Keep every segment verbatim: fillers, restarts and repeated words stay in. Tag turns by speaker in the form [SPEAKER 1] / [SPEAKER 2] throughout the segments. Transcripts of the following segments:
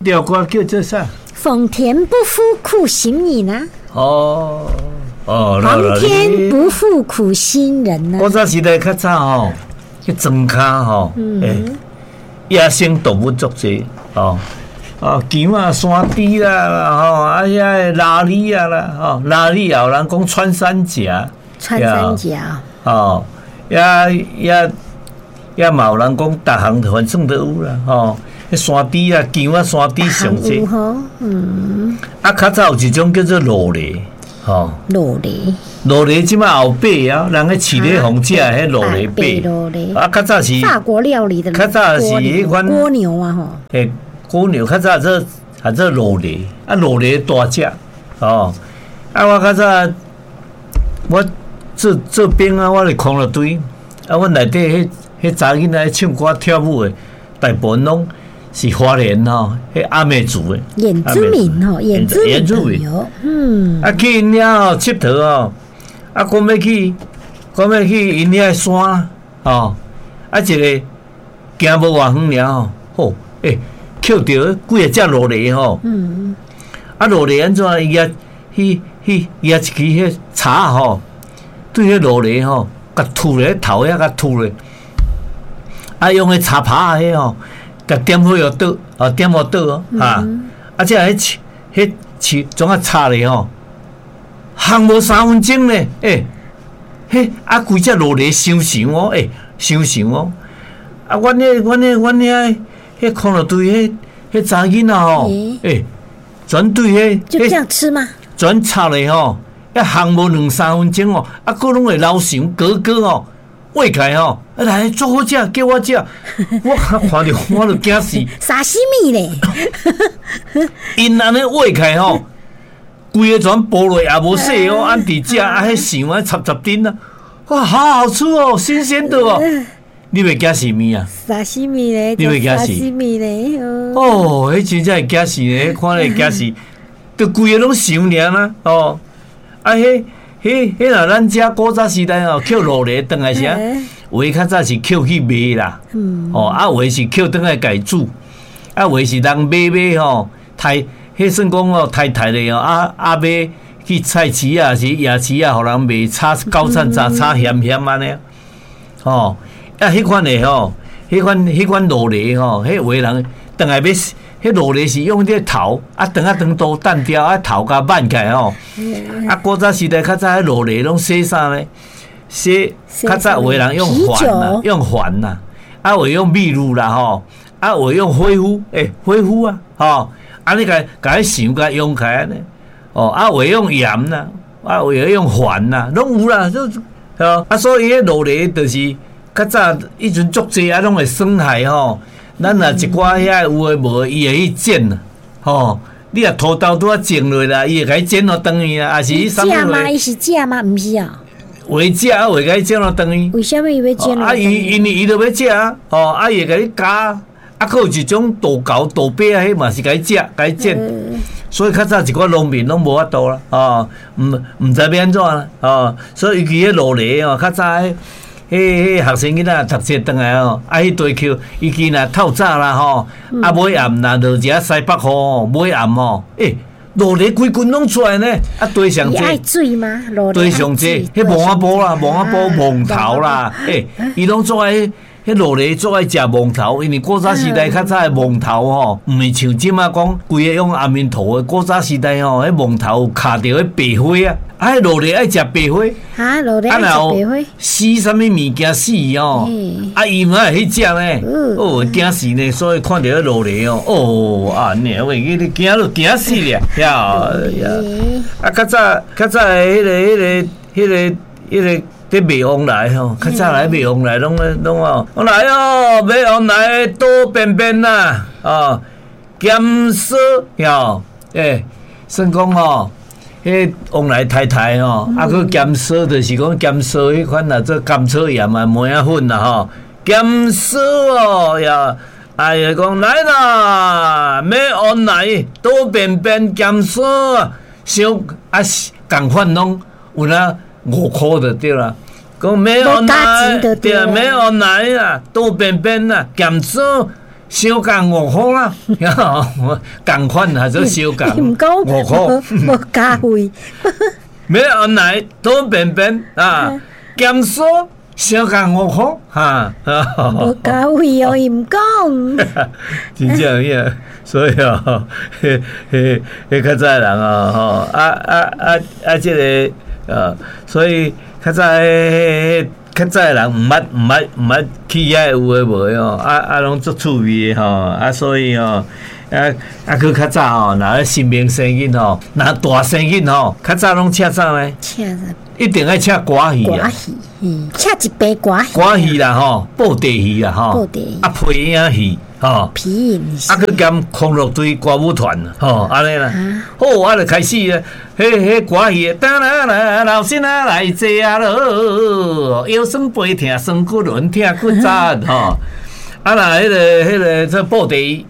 [SPEAKER 1] 條歌叫做啥？
[SPEAKER 2] 皇天不負苦心人啊！
[SPEAKER 1] 哦哦，
[SPEAKER 2] 皇天不負苦心人啊！
[SPEAKER 1] 古早時代較早吼，去莊跤吼，欸，野生動物足濟哦。哦，羊啊、山豬啦，吼，啊遐个鯪魚啊啦，吼，鯪魚也有人講穿山甲，
[SPEAKER 2] 穿山甲，
[SPEAKER 1] 哦，也也也嘛有人講，逐項反正都有啦，吼，彼山豬啊、羊啊、山豬上濟，
[SPEAKER 2] 嗯，
[SPEAKER 1] 啊，較早有一種叫做鱸鱺，吼，
[SPEAKER 2] 鱸鱺，
[SPEAKER 1] 鱸鱺這擺後白啊，人咧飼咧予食彼鱸鱺白，啊，較早是
[SPEAKER 2] 法國料理的，
[SPEAKER 1] 較早是彼款
[SPEAKER 2] 蝸牛啊，吼，
[SPEAKER 1] 欸。蝸牛較早做，較做鱸鱺，啊鱸鱺大隻，哦，啊我較早我做做兵啊，我佇空樂隊，啊阮內底彼彼查囡仔唱歌跳舞的，大部分攏是花蓮吼，彼阿美族的。
[SPEAKER 2] 原住民吼，原住民，嗯。
[SPEAKER 1] 啊去𪜶遐吼𨑨迌吼，啊講欲去，講欲去𪜶遐山，吼，啊一个行無偌遠爾吼，吼，欸。抾著幾仔隻鱸鱺吼，啊鱸鱺按怎？伊舉彼彼舉一支彼叉吼，對彼鱸鱺吼，共吐咧頭遐共吐咧，啊用彼柴耙彼吼，共點火予倒，哦點予倒哦，哈，啊這彼彼樹總啊插咧吼，烘無三分鐘咧，欸，彼啊規隻鱸鱺傷傷哦，欸，傷傷哦，啊阮彼阮彼阮遐。彼空樂隊，彼彼查囡仔吼，欸，全對彼
[SPEAKER 2] 就這樣吃嗎？
[SPEAKER 1] 全插咧吼，一烘無兩三分鐘哦，啊，閣攏會流涎哥哥吼，挖起來吼，啊來，足好食，叫我食，我看著我就驚死。
[SPEAKER 2] 沙西米咧，𪜶
[SPEAKER 1] 按呢挖起來吼，規个全剝落也無洗哦，按佇食啊，彼涎啊插插陣啊，哇，好好吃哦，新鮮的哦。你袂驚死物啊？
[SPEAKER 2] 沙西米咧，
[SPEAKER 1] 你袂驚死？
[SPEAKER 2] 沙西米咧，
[SPEAKER 1] 哦，彼真正會驚死咧，看咧驚死，就規个攏涎爾啦，哦，啊，彼、彼、彼若咱遮古早時代哦，抾鱸鱺轉來時，有的較早是抾去賣啦，哦，啊，有的是抾轉來家煮，啊，有的是人買買吼，刣，彼算講哦，刣刣咧哦，啊啊買去菜市啊，是夜市啊，予人賣炒九層炸炒鹹鹹按呢，吼。啊，彼款的吼，彼款彼款鱸鱺吼，彼有的人轉來欲，彼鱸鱺是用這個頭，啊，長啊長刀彈掉，啊頭共挽起來吼。啊，古早時代較早彼鱸鱺攏洗啥呢？洗較早有的人用糞啦，用糞啦，啊有的用秘魯啦吼，啊有的用火夫，欸，火夫啊，吼，按呢共共彼涎共溶開按呢，哦，啊有的用鹽啦，啊有的用糞啦，攏有啦，就啊，所以彼鱸鱺就是。較早彼陣足濟啊，攏會損害吼。咱若一寡遐有的無的，伊會去撿吼。你若塗豆拄仔種落啦，伊會共你撿予轉去啊，抑是啥物
[SPEAKER 2] 食嗎？伊是食嗎？毋是啊。
[SPEAKER 1] 有的食啊，有的共你撿予轉去。
[SPEAKER 2] 為啥物伊欲撿？
[SPEAKER 1] 啊，伊因為伊著欲食啊，吼，啊，伊會共你咬。啊，閣有一種大猴大伯啊，彼嘛是共你食，共你撿。所以較早一寡農民攏無法度啦，吼，毋毋知欲按怎啦，吼。所以尤其彼鱸鱺吼，較早彼。彼彼學生囡仔讀冊轉來吼，啊，彼地抾，尤其若透早啦吼，啊尾暗若落一下西北雨吼，尾暗吼，欸，鱸鱺規群攏出來呢，啊，地上濟，
[SPEAKER 2] 愛水嗎？
[SPEAKER 1] 地上濟，彼墓仔埔啦，墓仔埔魍頭啦，欸，伊攏做愛，彼鱸鱺做愛食魍頭，因為古早時代較早的魍頭吼，毋是像這馬講規个用安眠頭的，古早時代吼，彼魍頭有囥著彼白花啊。啊！彼鱸鱺愛食白花，
[SPEAKER 2] 啊，鱸鱺愛食白花，
[SPEAKER 1] 死啥物物件死哦？啊，伊嘛會去食呢？哦，驚死呢！所以看著彼鱸鱺哦，哦，啊，你喂，你驚都驚死咧！呀呀！啊，較早較早的彼個彼個彼個彼個佇賣旺來吼，較早來賣旺來攏攏哦，來哦，買旺來倒便便啦，哦，鹹酥喲，欸，算講吼。彼旺來太太吼，啊，閣鹹酥，就是講鹹酥彼款啊，做甘草鹽啊、麥仔粉啦吼，鹹酥哦呀，哎呀講來啦，買旺來倒便便鹹酥啊，傷啊仝款攏有哪五箍就對啦。講買旺來，對，買旺來啊，倒便便啊，鹹酥，相共五箍啦，仝款還是相共
[SPEAKER 2] 毋講
[SPEAKER 1] 五箍，
[SPEAKER 2] 無加費，
[SPEAKER 1] 沒原來都便便啊，鹹酥相共五箍哈，
[SPEAKER 2] 無加費哦，伊毋講，
[SPEAKER 1] 真正有，所以哦，彼彼彼較早的人哦，吼，啊啊啊啊，這个啊，所以較早彼較早的人毋捌毋捌毋捌去遐有的無的哦，啊啊攏足趣味的吼，啊所以吼，啊啊閣較早吼，若咧新明生囡吼，若大生囡吼，較早攏請啥呢？
[SPEAKER 2] 請啥？
[SPEAKER 1] 一定愛請歌戲啊，
[SPEAKER 2] 歌戲，請一排歌戲，
[SPEAKER 1] 歌戲啦吼，布袋戲啦吼，
[SPEAKER 2] 布袋戲
[SPEAKER 1] 啊皮影戲吼，
[SPEAKER 2] 皮影
[SPEAKER 1] 啊閣兼康樂隊歌舞團吼，按呢啦，好啊就開始啊，彼彼歌戲，噠啦啦，老先仔來坐啊囉，腰酸背疼，酸骨輪疼骨折吼，啊若彼个彼个這布袋戲。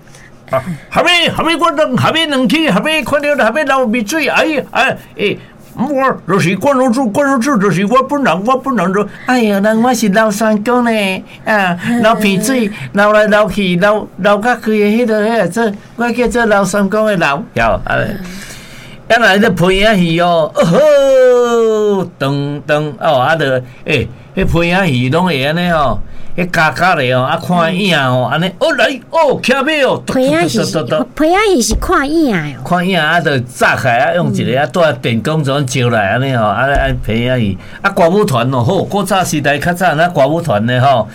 [SPEAKER 1] 啊，後尾後尾我兩後尾兩起，後尾看著後尾流鼻水，哎哎欸。我就是關老師，關老師就是我本人，我本人就哎呀，人我是劉三公呢，啊，流鼻水，流來流去，流流甲規个彼个彼个做，我叫做劉三公的流，有啊，啊來咧皮影戲哦，哦吼，噔噔哦，啊就欸，彼皮影戲攏會按呢吼。彼加加咧哦，啊看影哦，按呢哦來哦，騎馬哦，
[SPEAKER 2] 皮影戲是皮影戲是看影哦，
[SPEAKER 1] 看影啊，就紮起來啊，用一個啊，帶電光怎照來按呢吼，啊啊皮影戲啊歌舞團哦，好，古早時代較早那歌舞團咧吼，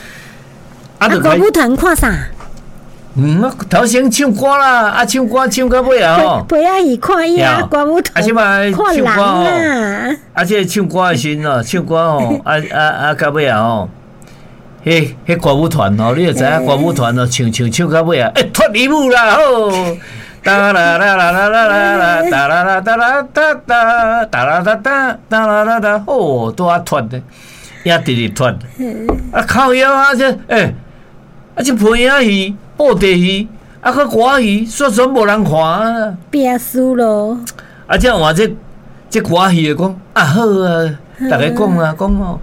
[SPEAKER 2] 啊歌舞團看啥？
[SPEAKER 1] 嗯，頭先唱歌啦，啊唱歌唱到尾啊吼，
[SPEAKER 2] 皮影戲看影，歌舞團看人啊，
[SPEAKER 1] 啊這個唱歌的時陣哦，唱歌吼，啊啊啊到尾啊吼。彼彼歌舞團吼，你就知影歌舞團哦，唱唱唱到尾啊，欸脫衣舞啦吼，噠啦啦啦啦啦啦啦，噠啦啦噠啦噠噠，噠啦噠噠，噠啦啦噠，吼，拄仔脫的，也直直脫，啊靠腰啊這，欸，啊這皮影戲、布袋戲，啊閣歌戲，煞全無人看啊。
[SPEAKER 2] 變輸咯。
[SPEAKER 1] 啊這換這這歌戲的講，啊好啊，逐家講啊講哦。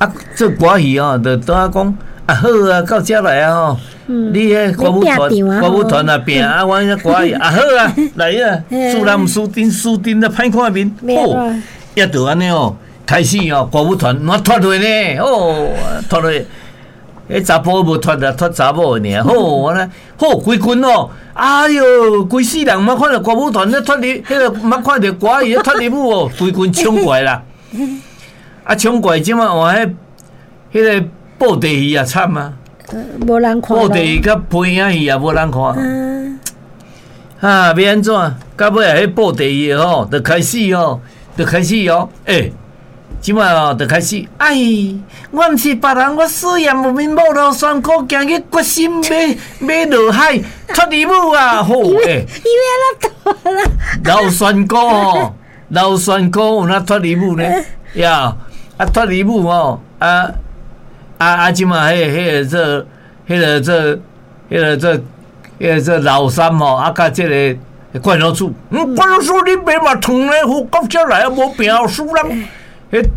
[SPEAKER 1] 啊，做歌戲哦，就拄仔講啊好啊，到遮來啊吼，你彼歌舞團歌舞團啊拼啊，阮彼歌戲啊好啊，來啊，輸人毋輸陣，輸陣啊歹看面，好，也就按呢哦，開始哦，歌舞團我脫落呢，哦，脫落，彼查埔無脫啊，脫查某的爾，好，按呢，好，規群哦，哎喲，規世人毋捌看著歌舞團咧脫離，彼個毋捌看著歌戲咧脫衣舞哦，規群衝過來啦。啊，衝過來這馬換彼彼个布袋戲也慘啊！
[SPEAKER 2] 無人看。
[SPEAKER 1] 布袋戲佮皮影戲也無人看。啊，欲按怎？到尾啊，彼布袋戲吼，就開始吼，就開始哦，欸，這馬哦，就開始。哎，我毋是別人，我思念阮某劉三姑，今日決心欲欲落海脫衣舞啊！好，欸，
[SPEAKER 2] 伊欲按怎脫啦？
[SPEAKER 1] 劉三姑吼，劉三姑有哪脫衣舞呢？呀！啊，脫衣舞吼，啊啊啊！這馬彼彼个做，彼个做，彼个做，彼个做老三吼，啊，佮這个關老師，嗯，關老師你爸嘛燙咧，好到遮來啊，無拼輸人，彼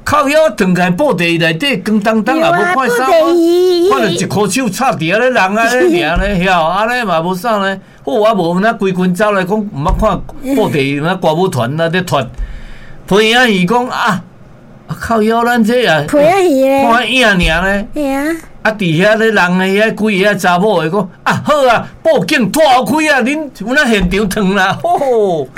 [SPEAKER 1] 靠腰轉來布袋內底光當當也無看啥，看著一箍手插佇遐咧人啊咧爾咧，曉按呢嘛無啥呢。好啊，無那規群走來講，毋捌看布袋戲，那歌舞團啊咧脫，皮影戲講啊。靠腰，咱這也
[SPEAKER 2] 皮影戲咧，
[SPEAKER 1] 看影爾咧。
[SPEAKER 2] 嘿啊！
[SPEAKER 1] 啊，佇遐咧人的遐幾个查某的講啊，好啊，布景拖開啊，恁有哪現場燙啦，吼！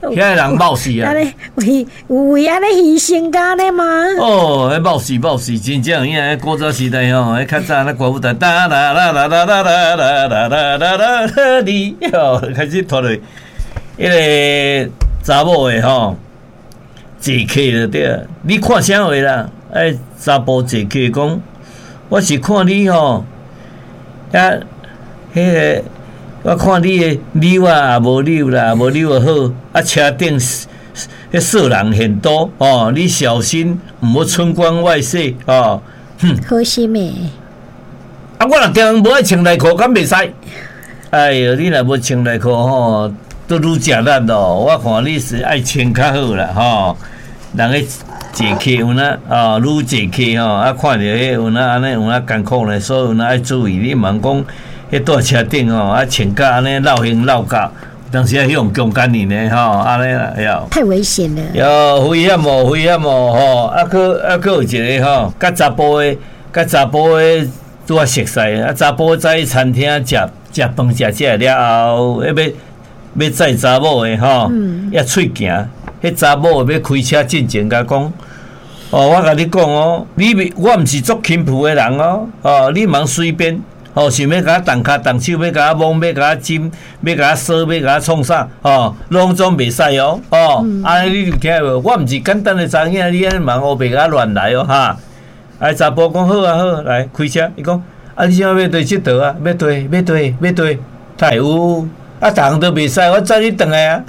[SPEAKER 1] 遐个人冒死啊！
[SPEAKER 2] 按呢為有為按呢犧牲甲按呢嗎？
[SPEAKER 1] 哦，彼冒死冒死，真正有影！彼古早時代吼，彼較早那歌舞團，噠啦啦啦啦啦啦啦啦啦啦啦，你哦開始脫落，彼个查某的吼。坐客就對啊，你看啥貨啦？哎，查埔坐客講，我是看你吼，啊，彼个我看你的扭啊也無扭啦，無扭就好。啊，車頂彼色人很多哦，你小心毋好春光外泄哦。哼，
[SPEAKER 2] 好心的。
[SPEAKER 1] 啊，我若定無愛穿內褲，敢袂使？哎喲，你若無穿內褲吼，都愈食力咯。我看你是愛穿較好啦，吼。人咧坐客有哪啊，愈坐客吼，啊看著彼有哪按呢有哪艱苦呢，所以有哪愛注意。你毋通講，彼蹛車頂吼，啊穿甲按呢落形落甲，當時啊彼予強姦去呢吼，按呢啦，喲。
[SPEAKER 2] 太危險了。
[SPEAKER 1] 喲，危險哦，危險哦，吼！啊，閣啊，閣有一個吼，佮查埔的，佮查埔的拄仔熟似，啊，查埔走去餐廳食食飯食食了後，彼欲欲載查某的吼，也喙行，彼查某的欲開車進前共講，哦，我共你講哦，你袂，我毋是足輕浮的人哦，哦，你毋通隨便。哦，想欲共我動跤動手，欲共我摸，欲共我斟，欲共我挲，欲共我創啥？哦，攏總袂使哦！哦，按呢你有聽無？我毋是簡單的查某囝，你按呢毋通烏白共我亂來哦！哈！啊，查埔講好啊好，來開車。伊講啊，你這欲佗佚佗啊？欲佗，欲佗，欲佗，會有啊，逐項都袂使，我載你轉來啊！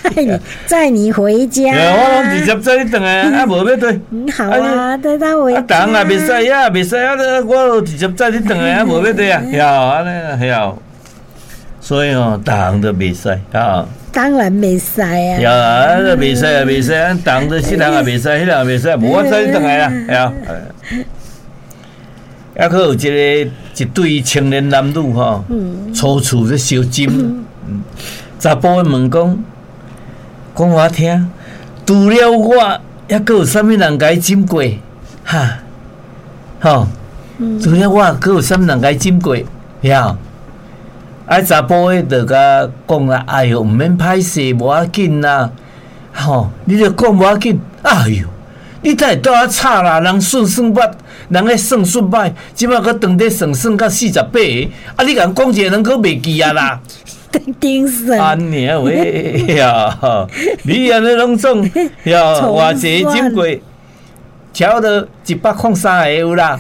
[SPEAKER 2] 載你載你回家。
[SPEAKER 1] 我攏直接載你轉來啊！啊，無欲佗。
[SPEAKER 2] 好啊，帶他回家。
[SPEAKER 1] 啊，逐項也袂使啊，袂使啊！我都直接載你轉來啊，無欲佗啊，曉按呢曉。所以哦，逐項都袂使啊。
[SPEAKER 2] 當然袂使啊。
[SPEAKER 1] 曉啊，袂使啊，袂使啊，逐項都這項也袂使，彼項也袂使，無我載你轉來啊，曉。抑閣有一個一對青年男女吼，初次咧相針，查埔問講，講予我聽，除了我，抑閣有啥物人共伊針過？哈，吼，除了我，閣有啥物人共伊針過？曉？啊，查埔的就共講啦，哎喲，毋免歹勢，無要緊啦，吼，你著講無要緊，哎喲，你哪會倒遐吵啦？人算算捌，人咧算術歹，這擺閣當咧算算到四十八個，啊！你共人講一個，人閣袂記啊啦。
[SPEAKER 2] 頂算。
[SPEAKER 1] 按呢喂呀，你按呢攏總呀，偌濟針過，差不多一百空三個有啦。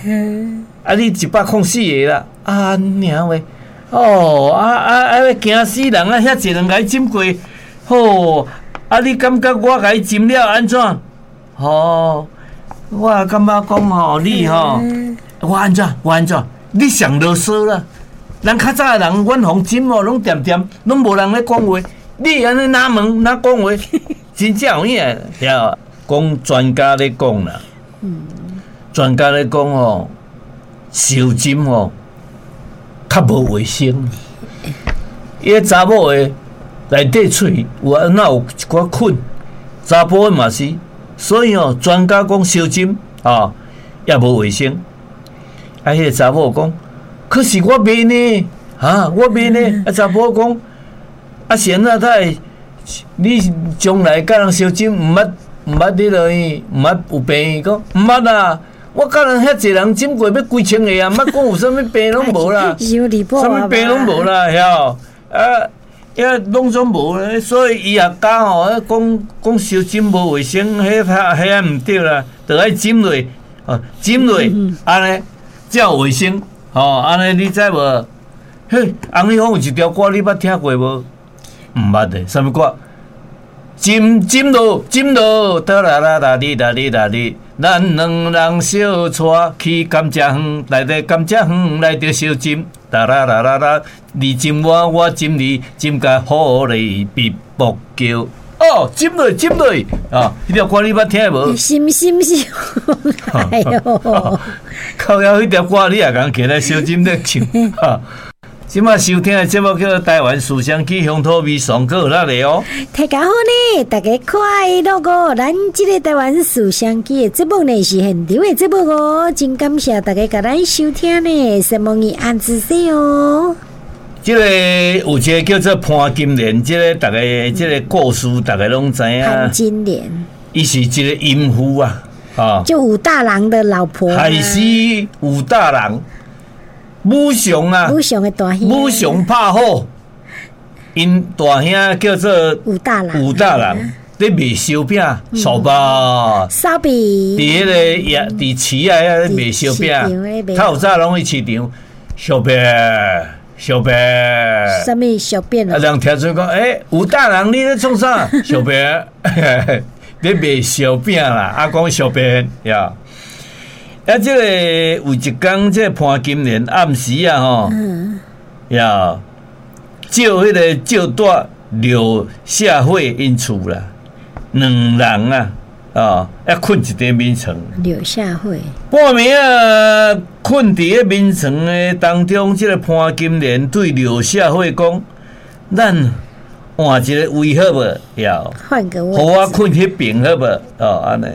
[SPEAKER 1] 啊，你一百空四個啦，按呢喂，哦，啊啊啊！驚死人啊！遐濟人共伊針過，吼！啊，你感覺我共伊針了按怎？吼，我感覺講吼，你吼，我按怎？我按怎？你上囉嗦啦！人較早的人，阮予針哦，攏恬恬，攏無人咧講話。你按呢哪問哪講話，真正有影。對，講專家咧講啦，專家咧講吼，相針吼較無衛生。伊个查某的內底喙有按怎有一寡菌，查埔的嘛是，所以哦，專家講相針啊也無衛生。啊，彼個查某講，可是我袂呢，啊，我袂呢。啊，查埔講，啊，是按怎才會？你將來佮人相針，毋捌毋捌彼落去，毋捌有病？伊講毋捌啦，我佮人遐濟人針過，欲幾千個啊，毋捌講有啥物病攏無啦，啥物病攏無啦，曉？啊，遐攏總無，所以醫學家吼，講講相針無衛生，彼遐彼毋對啦，著愛針落，哦，針落，按呢才有衛生，吼，按呢你知無？嘿，紅利峰有一條歌，你捌聽過無？毋捌的，啥物歌？針針落，針落，哆啦啦啦哩啦哩啦哩，咱兩人相帶去甘蔗園，來佇甘蔗園來著相針，啦啦啦啦啦，你針我，我針你，針甲虎咧比卜叫。哦，針落，針落，啊，彼條歌你捌聽無？
[SPEAKER 2] 是是是，哎喲，
[SPEAKER 1] 靠腰彼條歌你也共起來相針咧唱，哈。這馬收聽的節目叫做《台灣思想起鄉土味上閣有力的哦。
[SPEAKER 2] 大家好呢，大家快樂哦！咱這个台灣思想起的節目呢是現場的節目哦，真感謝大家共咱收聽呢，承蒙你按支持哦。
[SPEAKER 1] 這个有一个叫做潘金蓮，這个大家這个故事大家攏知影。
[SPEAKER 2] 潘金蓮，
[SPEAKER 1] 伊是一个淫婦啊，啊，
[SPEAKER 2] 就武大郎的老婆，
[SPEAKER 1] 害死武大郎。武松啊，
[SPEAKER 2] 武松的大兄，
[SPEAKER 1] 武松拍虎，𪜶大兄叫做
[SPEAKER 2] 武大郎，
[SPEAKER 1] 武大郎咧賣燒餅，燒肉，
[SPEAKER 2] 燒餅，
[SPEAKER 1] 佇彼个夜，佇市仔遐咧賣燒餅，透早攏去市場，燒餅，燒餅，
[SPEAKER 2] 啥物燒餅
[SPEAKER 1] 啊？人聽出講，欸，武大郎你咧創啥？燒餅，咧賣燒餅啦，啊講燒餅呀。啊，這个有一工，這個潘金蓮暗時啊，吼，呀，召彼个趙帶劉社會𪜶厝啦，兩人啊，啊，抑睏一張眠床。
[SPEAKER 2] 柳下惠。
[SPEAKER 1] 半暝啊，睏佇个眠床的當中，這個潘金蓮對柳下惠講：咱換一個位好無？要
[SPEAKER 2] 換個位，
[SPEAKER 1] 予我睏彼邊好無？哦，按呢，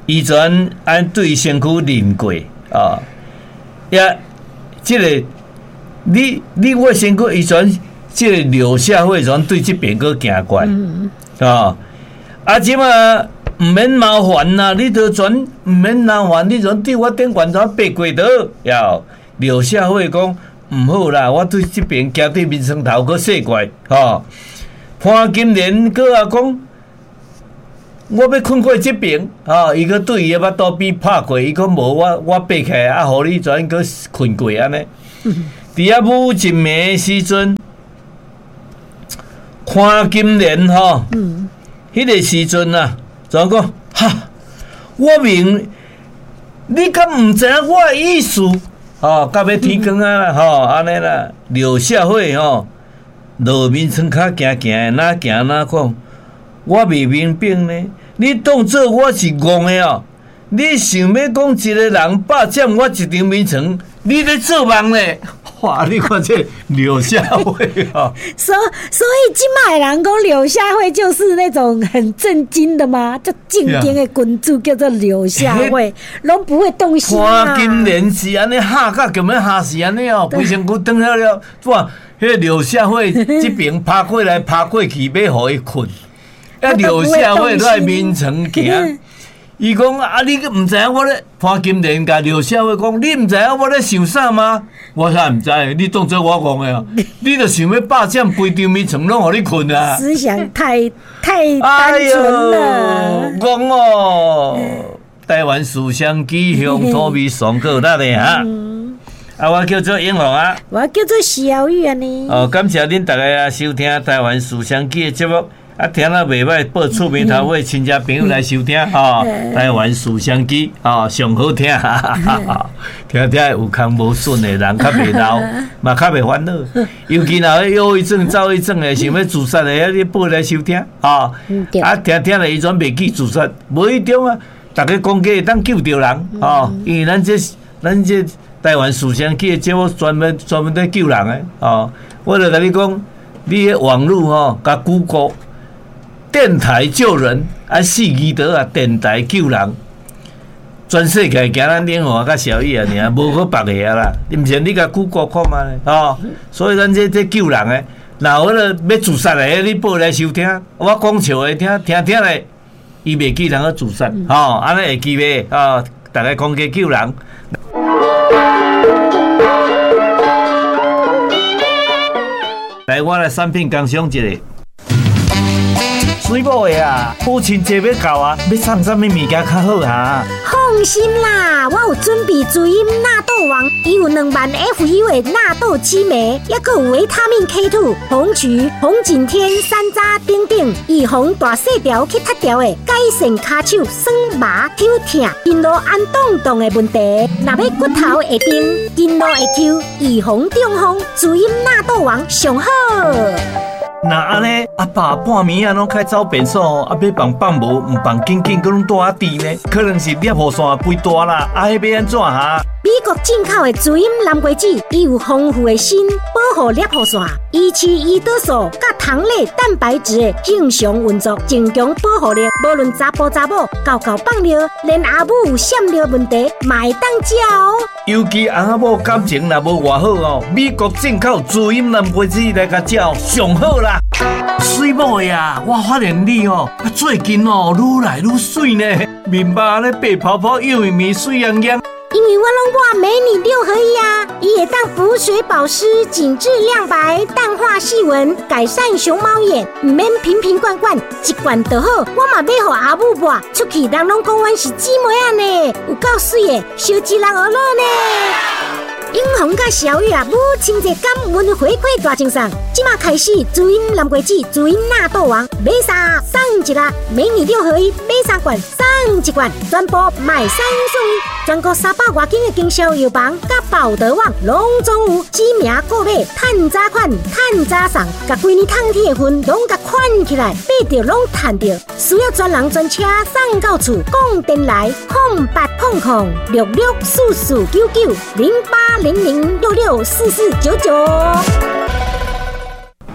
[SPEAKER 1] 伊就按按對身軀認過啊，也這個你你我身軀，伊全這個柳下惠全對這邊閣行過來，啊，啊，這馬毋免麻煩啦，你都全毋免麻煩，你全對我頂懸怎爬過倒？要柳下惠講毋好啦，我對這邊行對眠床頭閣踅過來，吼。潘金蓮閣啊講，我欲睏過這邊，吼，伊閣對伊的腹肚邊拍過，伊講無我我爬起來啊，予你全閣睏過按呢。佇遐某一暝時陣，潘金蓮吼，彼個時陣啊，怎講？哈，我明，你敢毋知影我的意思？吼，到欲天光啊啦，吼，按呢啦，柳下惠吼，落眠床跤行行，哪行哪講，我袂明白呢。你當做我是戇的哦？你想欲講一個人霸佔我一張眠床，你咧做夢咧？哇！你看這柳下惠啊，
[SPEAKER 2] 所所以這擺人講柳下惠就是那種很正經的嗎？就正經的君主叫做柳下惠，攏不會動心啊。
[SPEAKER 1] 潘金蓮是按呢嚇甲強欲嚇死按呢哦，規身軀轉了了，哇！彼個柳下惠這邊趴過來趴過去，欲予伊睏，啊柳下惠落來眠床行。伊講啊，你毋知影我咧潘金蓮共柳下惠講，你毋知影我咧想啥嗎？我啥毋知，你當做我戇的哦，你著想欲霸佔規張眠床攏予你睏啊？
[SPEAKER 2] 思想太太單純了。
[SPEAKER 1] 戇哦，台灣思想機向土味上夠力的哈。啊，我叫做英雄啊，
[SPEAKER 2] 我叫做小玉啊呢。
[SPEAKER 1] 哦，感謝恁大家啊收聽台灣思想機的節目。啊，聽了袂䆀，報厝邊頭尾親戚朋友來收聽吼。台灣思想機吼，上好聽，聽聽有空無筍的人較袂老，嘛較袂煩惱。尤其若憂鬱症、躁鬱症的，想欲自殺的，你報來收聽吼。啊，聽聽咧，伊全袂記自殺，無彼種啊。逐家講價會當救著人吼，因為咱這咱這台灣思想機的節目專門專門咧救人的吼。我就共你講，你彼網路吼，共 Google。電台救人，啊四字頭啊，電台救人，全世界行咱英雄佮小雨啊，爾，無閣別个啊啦。你毋是你共 Google 看覓吼，所以咱這這救人的，若有彼个欲自殺的，你報來收聽，我講笑的聽，聽聽咧，伊袂記人去自殺，吼，按呢會記袂？哦，逐家講價救人。來，我來產品工商一下。水某的啊，母親節欲到啊，欲送啥物物件較好啊？
[SPEAKER 2] 放心啦，我有準備滋陰納豆王，伊有兩萬 F U 的納豆激酶，抑閣有維他命 K 二、紅曲、紅景天、山楂等等，預防大細條去脫條的，改善跤手酸麻抽痛、筋路按動動的問題。若欲骨頭會硬，筋路會 Q，預防中風，滋陰納豆王上好。
[SPEAKER 1] 若按呢，阿爸半暝啊，攏開走便所，啊，欲放放無，毋放緊緊，閣攏蹛佇呢，可能是尿路線規大啦，啊，彼欲按怎哈？
[SPEAKER 2] 美國進口的滋陰南瓜子，伊有豐富的鋅，保護尿路線，維持胰島素佮糖類蛋白質的正常運作，增強保護力。無論查埔查某，敎敎放尿，連阿母有閃尿問題，嘛會當食哦。
[SPEAKER 1] 尤其翁仔某感情若無偌好哦，美國進口滋陰南瓜子來共食上好啦。水某的啊，我發現你哦，最近哦，愈來愈媠呢，面目咧白泡泡，幼咪咪，媠洋洋。
[SPEAKER 2] 因為我攏抹美女六合一啊，伊會當補水保濕、緊緻亮白、淡化細紋、改善熊貓眼，毋免瓶瓶罐罐，一罐就好。我嘛買予阿母抹，出去人攏講阮是姊妹仔呢，有夠媠的，燒一人學樂呢。英紅佮小雨啊，母親節感恩回饋大贈送，這馬開始，滋陰南瓜子，滋陰納豆王，買三送一粒，美女六合一，買三罐送一罐，全部買三送一，全國三百外間的經銷藥房佮寶德網攏總有，指名購買，趁早款，趁早送，共規年通天的份攏共款起來，買著攏趁著。需要專人專車送到厝，講電來空八空空六六四四九九零八零零六六四四九九。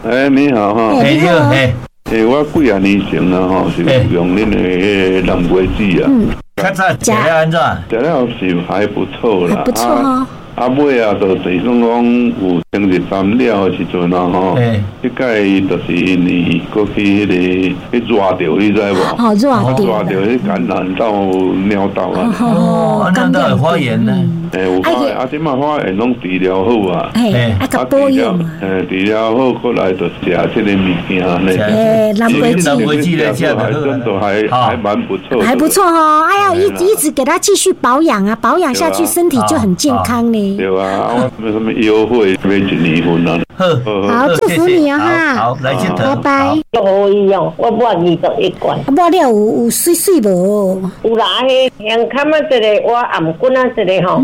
[SPEAKER 3] 哎，你好哈！
[SPEAKER 1] 哎，你好，哎，
[SPEAKER 3] 欸，我幾啊年前啊吼，是用恁的彼個南瓜子啊。
[SPEAKER 1] 較早食了按怎？
[SPEAKER 3] 食了是還不錯啦，
[SPEAKER 2] 不錯哦。
[SPEAKER 3] 啊尾啊，就是算講有清熱三了的時陣啊吼，這擺就是因為過去彼個彼熱著，你知無？
[SPEAKER 2] 哦，熱著。
[SPEAKER 3] 熱著，彼感染到尿道啊。
[SPEAKER 1] 哦，尿道有發炎呢。
[SPEAKER 3] 欸，有發炎，啊，這擺發炎攏治療好啊。
[SPEAKER 2] 嘿，啊，共保養。
[SPEAKER 3] 欸，治療好，過來就食這个物件呢。
[SPEAKER 2] 欸，南瓜子，
[SPEAKER 1] 南瓜子咧，食
[SPEAKER 3] 還真的還還蠻不錯。
[SPEAKER 2] 還不錯哦，哎呀，一一直給他繼續保養啊，保養下去身體就很健康呢。
[SPEAKER 3] 對啊，我什麼優惠買一年份啊。
[SPEAKER 1] 好，
[SPEAKER 2] 好，祝福你啊哈。
[SPEAKER 1] 好，來這
[SPEAKER 2] 拜拜。
[SPEAKER 4] 好伊哦，我抹二十一罐。
[SPEAKER 2] 抹了有有媠媠無？
[SPEAKER 4] 有啦，彼胸坎啊，一个我頷骨啊，一个吼，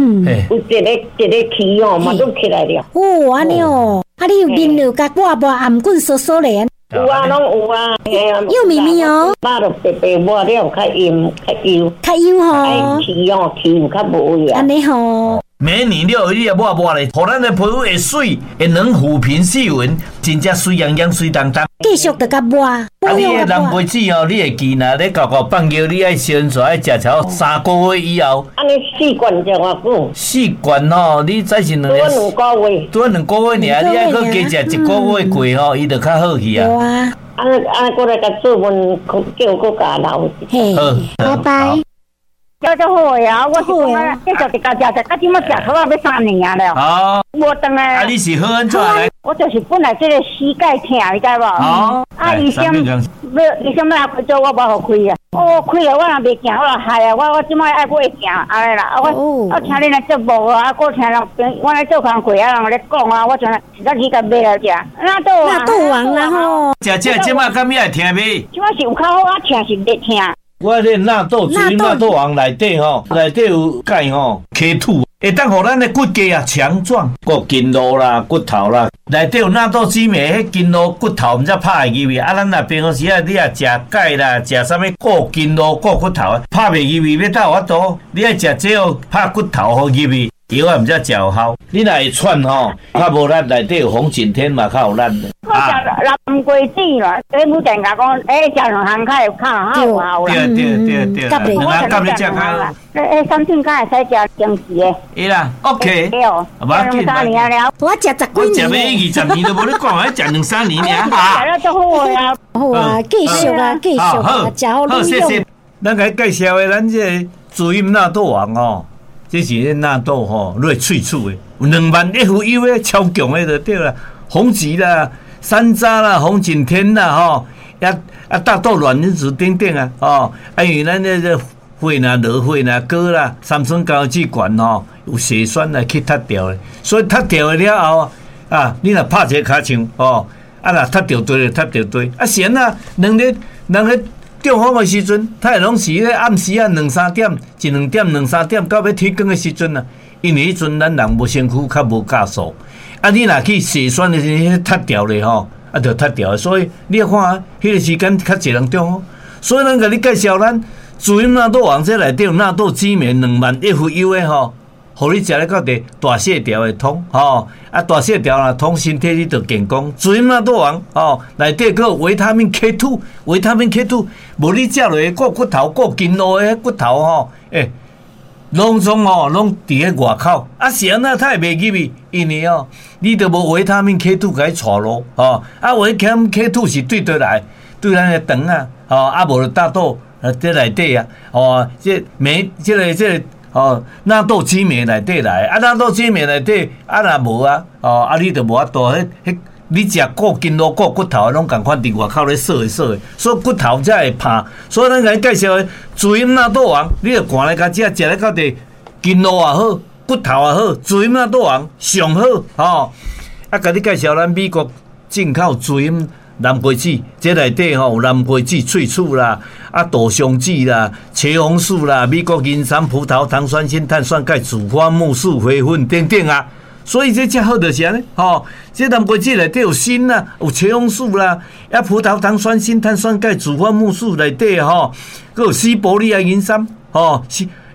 [SPEAKER 4] 有一个一个氣哦，嘛都起來了。
[SPEAKER 2] 哦，按呢哦，啊，你有面有共抹抹頷骨酥酥咧？
[SPEAKER 4] 有啊，攏有啊。
[SPEAKER 2] 有咪咪哦。
[SPEAKER 4] 肉就白白抹了，較陰較幼。
[SPEAKER 2] 較幼吼。
[SPEAKER 4] 哎，氣哦，氣有較無去啊。
[SPEAKER 2] 按呢吼。
[SPEAKER 1] 美女了，你也抹抹咧，予咱的皮膚會媠，會軟撫平細紋，真正媠洋洋、媠當當。
[SPEAKER 2] 繼續著共抹。
[SPEAKER 1] 啊，你的南瓜子哦，你會記若咧厚厚放尿，你愛先煞愛食超三個月以後。
[SPEAKER 4] 按呢四罐食偌久？
[SPEAKER 1] 四罐吼，你再是兩。
[SPEAKER 4] 拄兩個月。
[SPEAKER 1] 拄兩個月爾，你愛閣加食一個月過吼，伊就較好去啊。
[SPEAKER 2] 對啊。
[SPEAKER 4] 按呢按呢，過來共做問，叫閣共留。
[SPEAKER 2] 嘿，拜拜。
[SPEAKER 5] 食足好呀，我是講啊，繼續直共食食，到這馬食好啊，欲三年啊了。
[SPEAKER 1] 哦，
[SPEAKER 5] 無轉來。
[SPEAKER 1] 啊，你是好按怎來？
[SPEAKER 5] 我就是本來這个膝蓋疼，你知無？
[SPEAKER 1] 哦。
[SPEAKER 5] 啊，醫生欲醫生欲來開刀，我無予開啊。哦，開了我若袂行，我就害啊！我我這馬愛閣會行按呢啦。啊，我我聽恁來節目啊，閣聽人朋我來做工課啊，人咧講啊，我就實在去共買來食。納豆王，
[SPEAKER 2] 納豆王啦吼。
[SPEAKER 1] 食這這馬敢會疼未？
[SPEAKER 5] 這馬是有較好啊，疼是袂疼。
[SPEAKER 1] 我這納豆，滋陰納豆王內底吼，內底有鈣吼，K two，會當予咱的骨骼啊強壯，骨筋路啦、骨頭啦，內底有納豆酯酶，彼筋路骨頭毋才拍會入去。啊，咱若平常時啊，你若食鈣啦，食啥物固筋路、固骨頭，拍袂入去，欲倒有法度？你愛食這個拍骨頭予入去，藥啊毋才食有效。你若會喘吼，較無力，內底有紅景天嘛較有力。
[SPEAKER 5] 我食南瓜子啦，恁母店共講，欸，食兩項較會較有效啦。
[SPEAKER 1] 對對對對，兩項夾咧食較。
[SPEAKER 5] 欸，三頓敢會使食定時的。
[SPEAKER 1] 會啦，OK。
[SPEAKER 5] 對哦，兩三年了。
[SPEAKER 2] 我食十幾
[SPEAKER 1] 年。我食欲二十年都無咧講，還食兩三年爾。
[SPEAKER 5] 食了足好啊！
[SPEAKER 2] 好啊，繼續啊，繼續啊，食好
[SPEAKER 1] 好，謝謝。咱共介紹的，咱這个滋陰納豆王哦，這是彼納豆吼，落喙齒的，有兩萬 F U 的超強的就對啦，紅芪啦、山楂啦、紅景天啦吼，啊啊大豆卵磷脂等等啊，吼，啊因為咱這個血若落血若高啦，三酸甘油酯懸吼，有血栓來去踢掉的，所以踢掉的了後啊，你若拍一個尻槍吼，啊若踢著對就踢著對，啊是按怎兩日兩日中風的時陣，他會攏是咧暗時啊兩三點，一兩點兩三點到欲天光的時陣啊，因為彼陣咱人無身軀較無酵素，啊你若去血栓的時陣，彼踢掉咧吼，啊就踢掉，所以你看啊，彼个時間較濟人中風，所以咱共你介紹咱滋陰納豆王這內底有納豆酯酶兩萬 F U 的吼，予你食咧到底大細條會通吼，啊大細條若通，身體你就健康。滋陰納豆王吼，內底閣有維他命 K two，維他命 K two，無你食落去顧骨頭、顧筋路的骨頭吼，欸，攏總吼攏佇咧外口，啊是按怎它會袂入去？因為哦，你都無維他命 K two 共伊帶路吼，啊維他命 K two 是對佗來？對咱的腸啊，吼啊無就大豆啊這內底啊，吼這酶這个這个哦納豆酯酶內底來，啊納豆酯酶內底啊若無啊，哦啊你就無法度，彼彼你食顧筋路顧骨頭攏仝款佇外口咧鎖的鎖的，所以骨頭才會拍。所以咱共你介紹的滋陰納豆王，你著趕來共食，食咧到底筋路也好，骨頭也好，滋陰納豆王上好吼。啊，共你介紹咱美國進口滋陰南瓜子，這內底吼有南瓜子萃取啦，啊杜松子啦、茄紅素啦、美國人參、葡萄糖酸鋅、碳酸鈣、紫花苜蓿、花粉等等啊。所以這才好就是按呢，吼，這南瓜子內底有鋅啦，有茄紅素啦，啊葡萄糖酸鋅、碳酸鈣、紫花苜蓿內底吼，閣有西伯利亞人參，吼，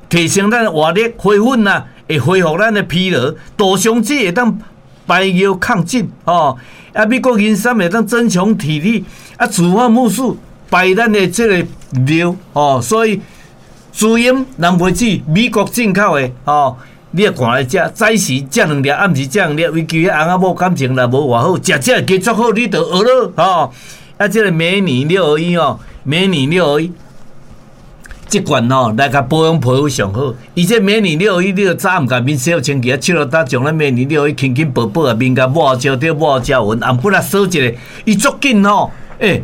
[SPEAKER 1] 提升咱的活力、花粉啦，會恢復咱的疲勞，杜松子會當排尿抗菌，吼，啊美國人參會當增強體力，啊紫花苜蓿排咱的這個尿，吼，所以滋陰南瓜子美國進口的，吼。你也看來食，早時食兩粒，暗時食兩粒，尤其彼翁仔某感情若無偌好，食這個加足好，你就學咯，吼。啊，這個美女六合一哦，美女六合一，這罐吼來共保養皮膚上好。伊這美女六合一，你著早暗共面洗好清氣，啊，手落搭將咱美女六合一輕輕薄薄啊，面共抹焦對抹焦勻，暗骨仔掃一下，伊足緊吼，欸，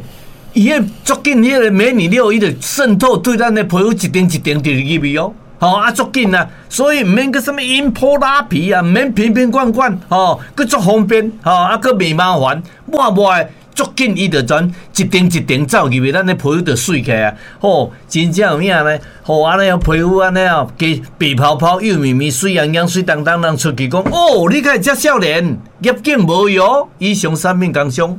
[SPEAKER 1] 伊彼足緊，彼個美女六合一就滲透對咱的皮膚一層一層就入去哦。吼啊，足緊啊，所以毋免閣啥物飲鋪拉皮啊，毋免瓶瓶罐罐，吼，閣足方便，吼啊，閣袂麻煩，抹抹的足緊，伊就全一層一層走入去，咱的皮膚就媠起來啊，吼，真正有影呢，吼，按呢皮膚按呢哦，加白泡泡、幼綿綿、媠洋洋、媠當當，人出去講，哦，你敢會遮少年，業境無用，以上產品工商。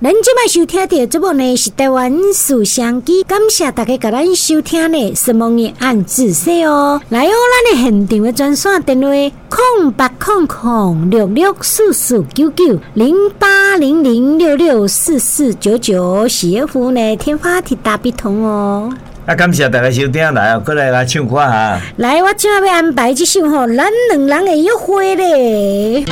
[SPEAKER 2] 咱這擺收聽著節目呢，是台灣事商機，感謝大家共咱收聽呢，什麼的按自說哦。來哦，咱的現場的專線電話：空八空空六六四四九九零八零零六六四四九九，是 F 呢天發鐵大筆通哦。
[SPEAKER 1] 啊，感謝大家收聽來哦，閣來來唱歌哈。
[SPEAKER 2] 來，我這擺欲安排這首吼，咱兩人的約會咧。